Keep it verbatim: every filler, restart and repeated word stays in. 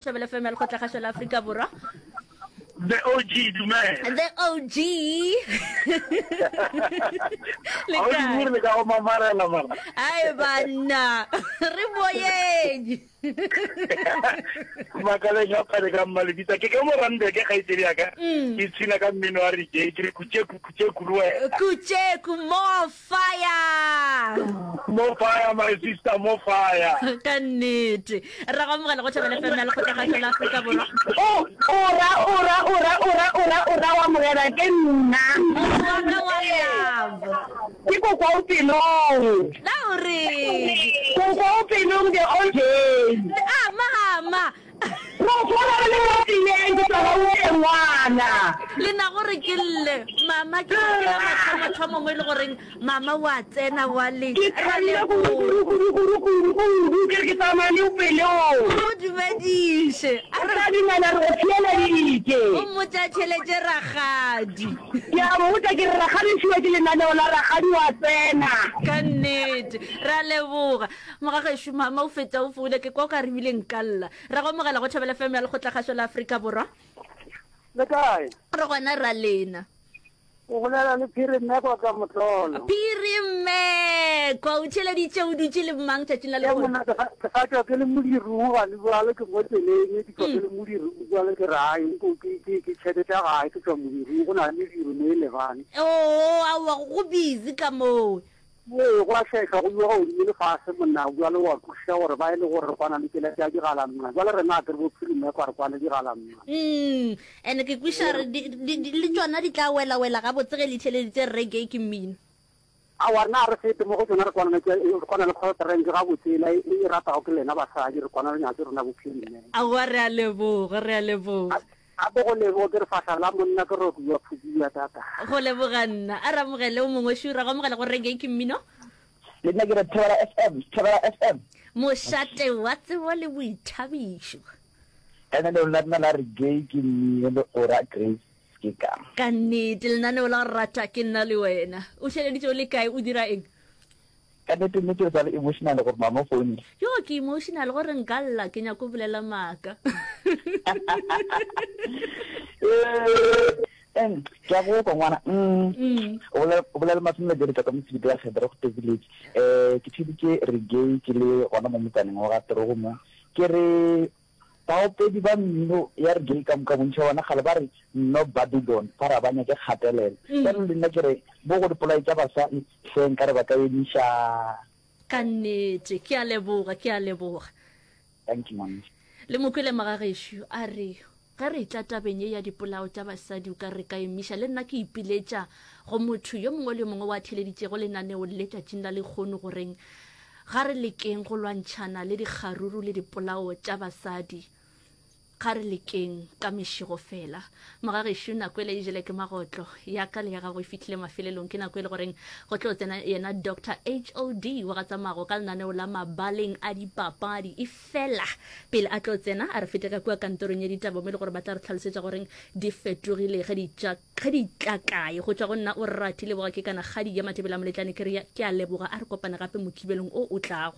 Thobela F M ya Lekgotlakgašo la Afrika Borwa. The O G, dumela. The O G. Le Ga o kae? dumele le ka go mamarela mara. Ai banna, re moyeng. Makaleng a pale ka mmalebitsa ke ka mo Randburg kgaitsedi ya ka. Mm. Ke tshina ka mmino wa reggae ke re kutšeku kutšeku le wena. Kutšeku more fire. More fire my sister, more fire. Ka nnete. Ra go amogela go Thobela F M ya Lekgotlakgašo la Afrika Borwa. O, o ra, o ra, o ra, o ra, o ra, o ra wa amogela ke nna. Motho wa ka wa love. Ke kokwa o pelong. Na o reng? Kokwa o pelong the O J. Ah, mama. Go swana re le mo tseleng ke tšwa Gauteng ngwana. Le na gore ke lle mama ke ke la mathomo thomo mo e le goreng mama wa tsena wa le Ke ra thabile kudu leboga. kudu kudu kudu kudu kudu ke re ke tsamaya le o pelong. O dumediše. A Re re tla dumela re go theeleditše. O mmotše a theeletše rakgadi. Ke a mmotša ke re rakgadi o fiwa ke lenaneo la rakgadi wa tsena. Ka nnete. Ra leboga. Mogagešo mama o fetša o founa ke kwa o ka re ebile nka lla. Ra go amogela go Thobela F M ya Lekgotlakgašo la Afrika Borwa. Le kae? Re gona ra lena. O bolela le Phiri Mmekwa ka Motlolo. Phiri Mmekwa, o theeleditše o dutše le mang tšatšing la Ke lehono? monna ke sa ke sa tšwa ke le modirong gane bjale ke mo tseleng ke tšwa ke Mm. le modirong bjale ke re ai nko ke ke ke tšheke tša gae ke tšwa modirong go na le mediro mo e lebane. Oo, aowa go busy ka moo. Ee, go a šehla, go iwa godimo le fase, monna. Bjale o a kwešiša gore ba e le gore re kwana le tšela tša digalamma. Bjale rena a ke re bo Phirimekwa re kwane digalamma. Mm, and ke kwešiša gore di, di, di, le tšona di tla wela-wela gabotse ge le theeleditše reggae ke mmino. Aowa, rena ga re fete mo go tšona, re kwana le tše, re kwana le Coltrane gabotse, yela e, e ratago ke lena basadi, re kwana le nyatso rena bo Phirimekwa. Aowa, re a leboga, re a leboga. Gape go leboga ke re fahla la monna ke roki ya phubu ya tata. Go leboga nna. A re amogele o mongwe šu. Ra go amogela go Reggae ke mmino. Le nna ke re Thobela F M, Thobela F M. Mošate wa tsebo le boithabišo. Lenaneo la rena la Reggae ke mmino le Ora Grace ke ka. Ka nnete lenaneo la go rata ke nna le wena. O theeleditše o le kae o dira eng? Ka nnete nnete o sa le emotional gore mama o founile. Yo ke emotional gore nka lla ke nyako bolela maaka. Eh, ke a go kwa ngwana. Mm. Mm. O bolela o bolela masome le ka mosebete ya Kgedra go Village. Eh ke theditše reggae ke le gona mo motsaneng wa ga Torogo mo. Ke re baopedi ba mmino ya reggae ka moka bontši ba bona kgale ba re no Babylon ba ra ba nyake kgatelelo. Mm. Bjale le nna ke re bo go dipolai tša basadi hle nkare ba ka emiša. Ka nnete ke a leboga, ke a leboga. Thank you ngwanešu. Le mokwele magagešo a re ge re tla tabeng ye ya dipolao tša basadi o ka re ka emiša. Le nna ke ipiletša go motho yo mongwe le yo mongwe wa theeleditšego lenaneo le tšatšing la lekgono goreng ga re lekeng go lwantšhana le dikgaruru le dipolao tša basadi. Ga re lekeng ka mešego fela. Mogagešo nako ele e jele ke magotlo. Ya ka le ya gago e fihlile mafelelong. Ke nako e le goreng go tlo tsena yena Doctor H O D wa ga Tsamago ka lenaneo la mabaleng a dipapadi. E fela pele a tlo tsena a re fete ka kua kantorong ya ditaba mo e le gore ba tla re hlalosetša goreng di fetogile ge di tša ge di tla kae. Go tšwa go nna o rati leboga ke kana kgadi ya Mathebela Moletlane ke re ke a leboga a re kopane gape mokibelong o o tlago.